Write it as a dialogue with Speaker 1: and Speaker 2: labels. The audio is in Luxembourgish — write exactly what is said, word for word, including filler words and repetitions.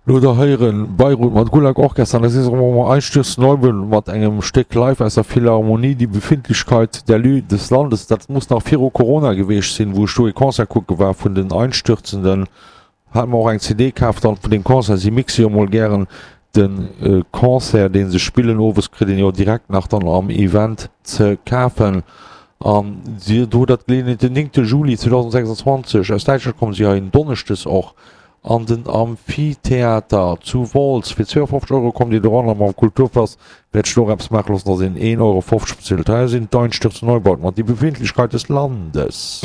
Speaker 1: Lo der héieren Beirut mat Gulag Orchester an da si se erëm Einstürzende Neubauten mat engem Stéck live aus der Philharmonie, Die Befindlichkeit der Lü des Landes. Dat muss nach viru Corona geweecht sinn, wou ech do ee Concert kucke war vun den Einstürzenden. Hat mer och eng C D kaf dann vun deem Concert. Si mixe jo mol gären de Concert, dee se spillen owes, kritt een jo direkt nach dann am Event ze kafen. An si do dat Geleeënheet den néngte Juli zweedausendsechsundzwanzeg aus Däitschland kommen si hei en Donneschdes och an den Amphitheater zu Wolz. Fir zweeafofzeg Euro kommt Dir doran a mam Kulturpass wäert ech do och eppes maache loossen, dass een een Euro fofzeg bezilt. Hei sinn d'Einstürzende Neubauten mat Die Befindlichkeit des Landes.